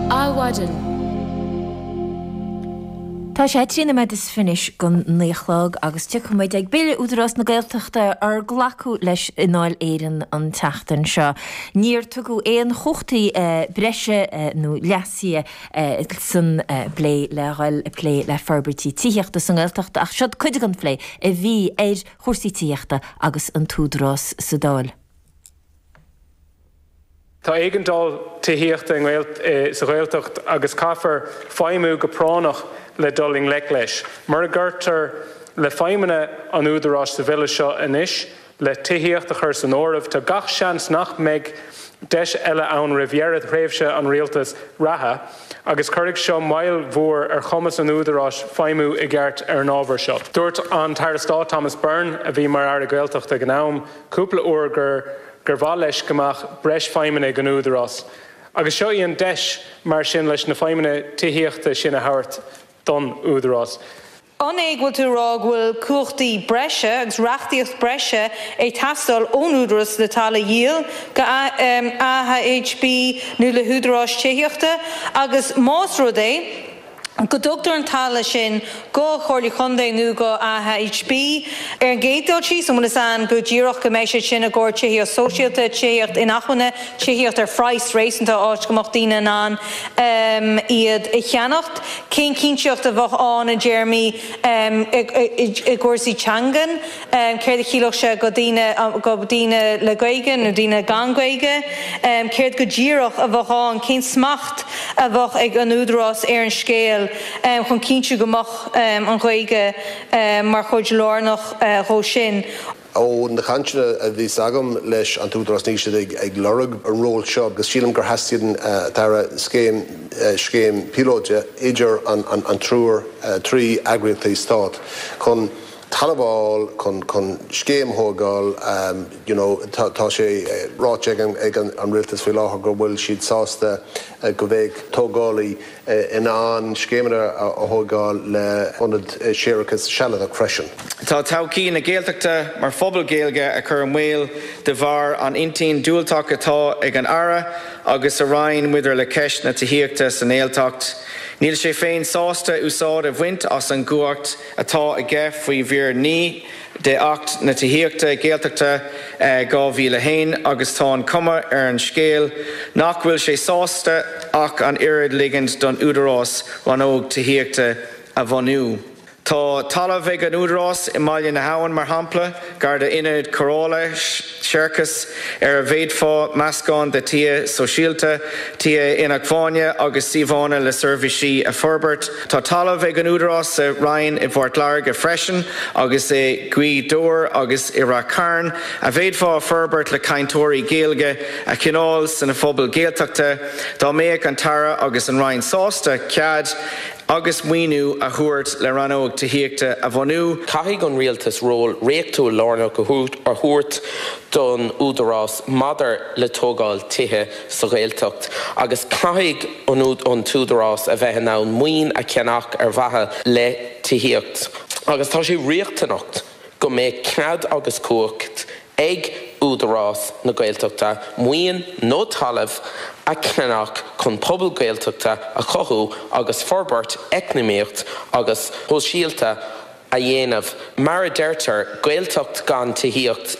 Adhmhaidin. Tá sé 13 nóiméad is fiche don 9 a chlog agus tiocfaidh muid ag Bille Údarás na Gaeltachta ar glacadh leis i nDáil Éireann an tseachtain seo. Níor tugadh aon chumhachtaí breise nó leasuithe san bplé le dhul ag plé le forbairtí tithíochta sa nGaeltacht ach siod cuid den phlé a bhí ar chúrsaí tithíochta agus an tÚdarás sa Dáil. Tá éigeandáil tithíochta sa Ghaeltacht agus caithfear feidhmiú go práinneach le dul i ngleic leis. Mura gcuirtear le feidhmeanna an Údaráis sa bhille seo anois le tithíocht a chur san áireamh, tá gach seans nach mbeidh deis eile ann roimh dheireadh thréimhse an rialtais reatha agus cuirfidh seo moill mhór ar chumas an Údaráis feidhmiú i gceart ar an ábhar seo. Dúirt an tAire Stáit Thomas Byrne, a bhí mar Aire Gaeltachta ag an am, cúpla uair gur gur mhaith leis go mbeadh breis feidhmeanna ag an Údarás. Agus seo í an deis mar sin leis na feidhmeanna tithíochta sin a thabhairt don Údarás. An é go bhfuil tú ag rá go bhfuil cumhachtaí breise agus reachtaíocht breise ag teastáil ón Údarás le talamh a dhíol go AHB nó le húdaráis tithíochta agus más rud é go dtugtar an talamh sin go Comhairle Contae nó go AHB. Ar an gcéad dul síos, an bhfuil fhios a'inn go díreach go mbeidh sé sin i gcomhair tithíocht sóisialta, tithíocht inacmhainne, tithíocht ar phraghas réasúnta, áit go mbeadh daoine in ann iad a cheannacht? Cén chinnteacht a bheadh ann i dtéarmaí i gcúrsaí teangan? Céard a chiallódh sé go daoine, go daoine le Gaeilge nó daoine gan Gaeilge? Céard go díreach a bheadh ann? Cén smacht a bheadh ag an Údarás ar an scéal chun cinntiú go mbeadh an Ghaeilge mar chuid lárnach dhó sin? Ó na cainteanna a bhíos agam leis an t-údarás níl siad ag lorg an ról seo agus sílim gur theastaíonn a Aire scéim scéim píolóide idir an triúr 3 eagraíochtaí stát chun talamh a fháil chun chun scéim a thógáil you know tá tá sé ráite ag an ag an rialtas faoi láthair go bhfuil siad sásta go mbeidh tógálaí in ann scéimeanna a thógáil le ionad séarachais sealadach freisin. Tá todhchaí na Gaeltachta mar phobal Gaeilge á cur i mbaol de bharr an intinn diúltach atá ag an Aire agus a Roinn maidir le ceist na tithíochta sa nGaeltacht. Níl sé féin sásta úsáid a bhaint as an gcumhacht atá aige faoi mhír 9 de Acht na Tithíochta, Gaeltachta, 2001 agus tá an chuma ar an scéal nach bhfuil sé sásta ach an oiread ligint don Údarás rannóg tithíochta a bhunú. Tá talamh ag an Údarás i mBaile na hAbhann, mar shampla, gar d'ionad cóireála séarachais ar a bhféadfá meascán de tithe sóisialta, tithe inacmhainne agus suíomhanna le seirbhísí a forbairt. Tá talamh ag an Údarás sa Rinn i bPort Láirge freisin agus i nGaoth Dobhair agus i Rath Cairn a bhféadfá a forbairt le cainteoirí Gaeilge a choinneáil sna phobail Ghaeltachta dá mbeadh an tAire agus an Roinn sásta cead agus maoiniú a thabhairt le rannóg tithíochta a bhunú. Caithfidh an Rialtas ról reachtúil lárnach a thabhairt don Údarás maidir le tógáil tithe sa Ghaeltacht agus caithfidh an tÚdarás a bheith in ann maoin a cheannach ar mhaithe le tithíocht agus tá sé riachtanach go mbeadh cead agus cumhacht ag Údarás na Gaeltachta maoin nó talamh a cheannach chun pobal Gaeltachta a chothú agus forbairt eacnamaíocht agus shóisialta a dhéanamh. Mar a deirtear, Gaeltacht gan tithíocht,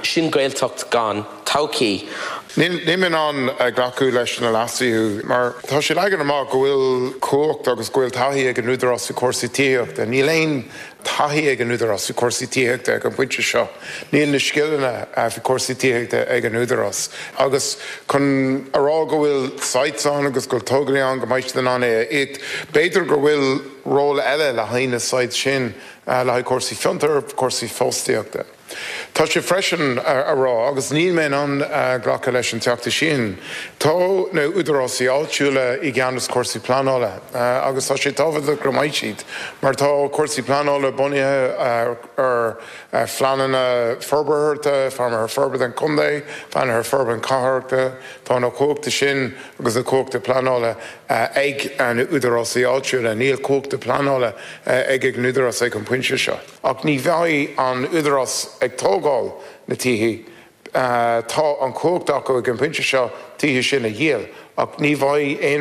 sin Gaeltacht gan todhchaí. Níl mé in ann glacadh leis na leasuithe mar tá sé leagan amach go bhfuil cumhacht agus go bhfuil taithí ag an Údarás i cúrsaí tithíochta. Níl aon taithí ag an Údarás i cúrsaí tithíochta ag an bpointe seo. Níl na scileanna faoi cúrsaí tithíochta ag an Údarás. Agus chun a rá go bhfuil sites ann agus go bhfuil tógálaí ann go mbeidh siad in ann é a íoc, b'fhéidir go bhfuil ról eile le haghaidh na sites sin le haghaidh cúrsaí fiontair, cúrsaí fostaíochta. Tá sé freisin a rá, agus níl mé in ann glacadh leis an Teachta sin, tá na údarásaí áitiúla i gceannas cúrsaí pleanála agus tá sé tábhachtach go mbeidh siad mar tá cúrsaí pleanála bunaithe ar phleananna forbartha, phleananna forbartha an chontae, phleananna forbartha cathrachta, tá na cumhachta sin agus na cumhachta pleanála ag na údarásaí áitiúla. Níl cumhachta pleanála ag an údarás ag an bpointe seo. Ach ní bheidh an Údarás ag tógáil na tithe. Tá an chumhacht acu ag an bpointe seo tithe sin a dhíol, ach ní bheidh aon.